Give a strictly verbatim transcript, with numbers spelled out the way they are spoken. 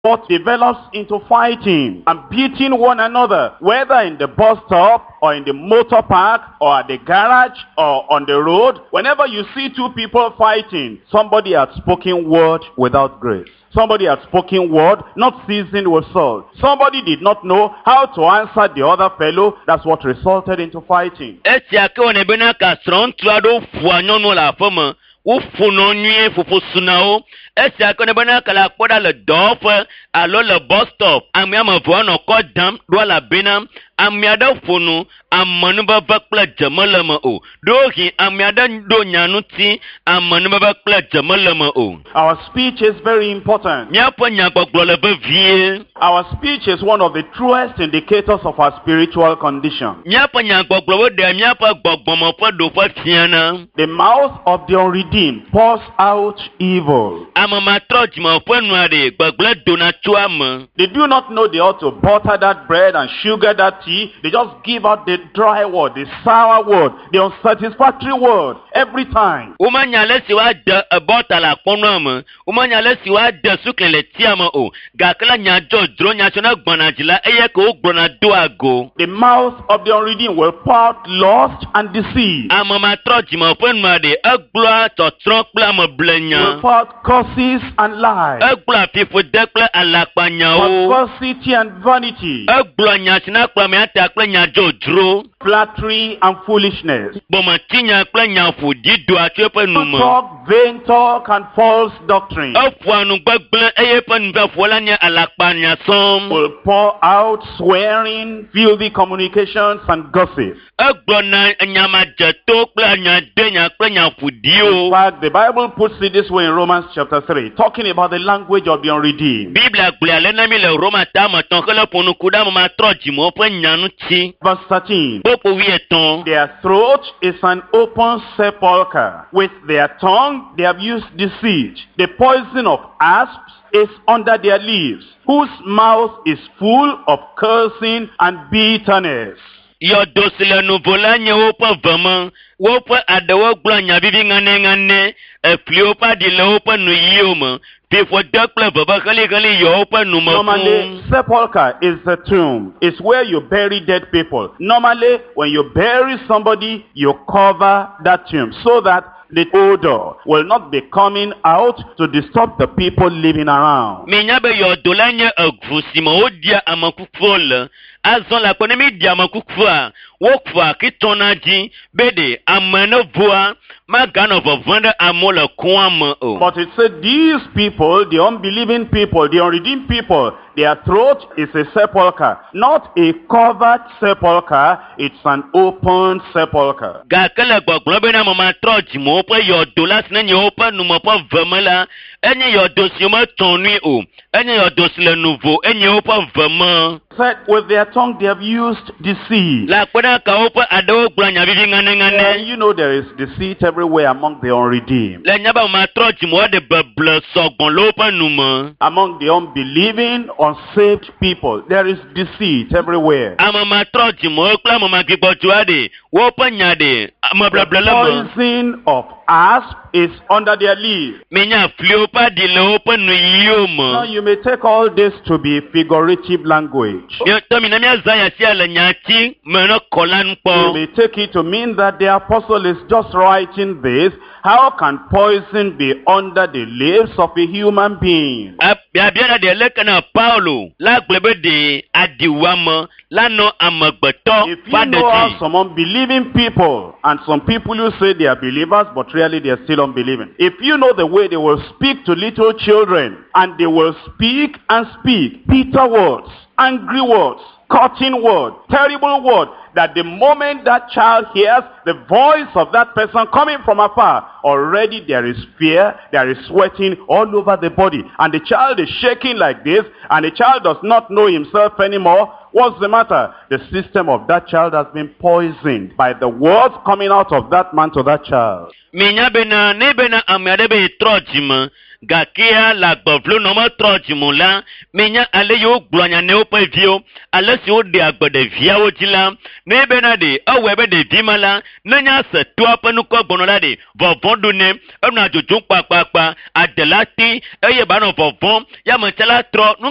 What develops into fighting and beating one another, whether in the bus stop or in the motor park or at the garage or on the road. Whenever you see two people fighting, somebody has spoken word without grace. Somebody has spoken word not seasoned with salt. Somebody did not know how to answer the other fellow. That's what resulted into fighting. Esia ke wɔnɛ bena ka srɔ̃ŋutsu aɖewo ƒoa nyɔnuwo le aƒeme woƒonɔ nyuie ƒoƒo suna wo esia ke wɔnɛ bena ka le akpɔ ɖa le dɔwɔƒe alo le bus stop ame ame eve woanɔ kɔ dam ɖo elabena ame aɖe ƒo nu amenuveve kple dze mele me o ɖewohĩ ame aɖe ɖo nya ŋuti amenuveve kple dze mele me o. Our speech is very important. Míaƒe nyagbɔgblɔ le vevie. Our speech is one of the truest indicators of our spiritual condition. Míaƒe nyagbɔgblɔwo ɖea míaƒe gbɔgbɔme ƒe ɖoƒe fiana. The mouth of the unredeemed pours out evil. Ame matrɔ dzime ƒe nua ɖe gbegblẽ dona tso eme. They do not know they ought to butter that bread and sugar that tea. They just give out the dry word, the sour word, the unsatisfactory word every time. Womenya ale si woade bɔta le akpɔnɔa me. Womenya ale si woade sukli le tia me o. Gake la nya dzodzro nya tso ne gbɔna dzi la eye ke wogblɔna doa go. The mouth of the unredeemed will pour out lust and deceit. Ame matrɔ dzime ƒe nua ɖe egblɔa tsɔtsrɔ̃ kple ameblenya. Will pour out curses and lies. Egblɔa fiƒode kple alakpanyawo. Perversity and vanity. Egblɔa nya si na kplɔ amea ta kple nya dzodzro. Flattery and foolishness. Gbɔmetinya kple nya ƒoɖi doa tso eƒe nu me. Talk, vain talk and false doctrine. Eƒoa nu gbegblẽ eye eƒe nuƒoƒo la nye alakpanya sɔŋ. Will pour out swearing, filthy communications and gossip. Egblɔna nyamadzeto kple nyadenya kple nya ƒoɖiwo. In fact, the Bible puts it this way in Romans chapter three, talking about the language of the unredeemed. Biblia gblɔe ale na mi le Roma ta me etɔ̃ hele ƒo nu ku ɖe ame matrɔ dzimewo ƒe nya ŋuti. Verse thirteen. Kpukpui wuietɔ̃. Their throat is an open sepulchre. With their tongue they have used deceit. The poison of asps is under their lips, whose mouth is full of cursing and bitterness. Yɔdo si le nuvo la nye woƒe ve me. Woƒe aɖewo gblɔa nya vivi ŋanɛŋanɛ. Efliwo ƒe aɖi le woƒe nuyiwo me. Fiƒode kple veve heliheli yɔ woƒe nu me Normally, fũu. sepulchre is the tomb. It's where you bury dead people. Normally, when you bury somebody, you cover that tomb so that the odor will not be coming out to disturb the people living around. Minya be yɔdo la nye eʋu si me woɖia ame kukuwo le. Azɔ le akpɔ ne mi ɖi ame kukua, wofua akitɔna dzi be ɖe ame ne ʋua maganɔ vɔvɔ̃ ɖe amewo le kɔa me o. But it said these people, the unbelieving people, the unredeemed people, their throat is a sepulchre. Not a covered sepulchre, it's an open sepulchre. Gake le gbɔgblɔ bena ame matrɔ dzimewo ƒe yɔdo la si ne nye woƒe nume ƒe ve me la, enye yɔdo si wometɔ nui o. Enye yɔdo si le nuvo, enye woƒe ve me. Said with their tongue they have used deceit. Le akpe ɖe ka woƒe aɖewo gblɔ nya vivi ŋanɛŋanɛ. And you know there is deceit everywhere among the unredeemed. Le nya be ame matrɔ dzimewo ɖe beble sɔgbɔ le woƒe nu me. Among the unbelieving, unsaved people, there is deceit everywhere. Ame matrɔ dzimewo kple ame magbigbɔdzɔa ɖe woƒe nya ɖe ameblable le me. Poison of asp is under their leaves. Minya fliwo ƒe aɖi le woƒe nuyiwo Now me. you may take all this to be figurative language. Miatɔ mi na míazã nya sia le nyati me ne kɔ la nu You kpɔ. may take it to mean that the apostle is just writing this. How can poison be under the lips of a human being? Biabia la ɖe leke na Paulo la gblɔ be ɖe aɖiwuame la nɔ amegbetɔ If ƒe you aɖe know dzi. how some unbelieving people and some people who say they are believers but really they are still unbelieving. If you know the way they will speak to little children and they will speak and speak bitter words, angry words, cutting words, terrible words, that the moment that child hears the voice of that person coming from afar, already there is fear, there is sweating all over the body. And the child is shaking like this, and the child does not know himself anymore. What's the matter? The system of that child has been poisoned by the words coming out of that man to that child. Minya bena ne bena ame aɖe be trɔ dzime gakea le agbevlo nɔ metrɔ dzime o la, minya ale yi wogblɔ nya ne woƒe viwo, ale si woɖea gbe ɖeviawo dzi la, ne bena ɖe ewɔe be ɖevi ma la, ne nya se toa ƒe nukɔ gbɔnɔ la ɖe vɔvɔ̃ ɖu nɛ, enɔa dzodzom kpakpakpa, adela ti eye ba nɔ vɔvɔ̃m, ya me tse la trɔ nu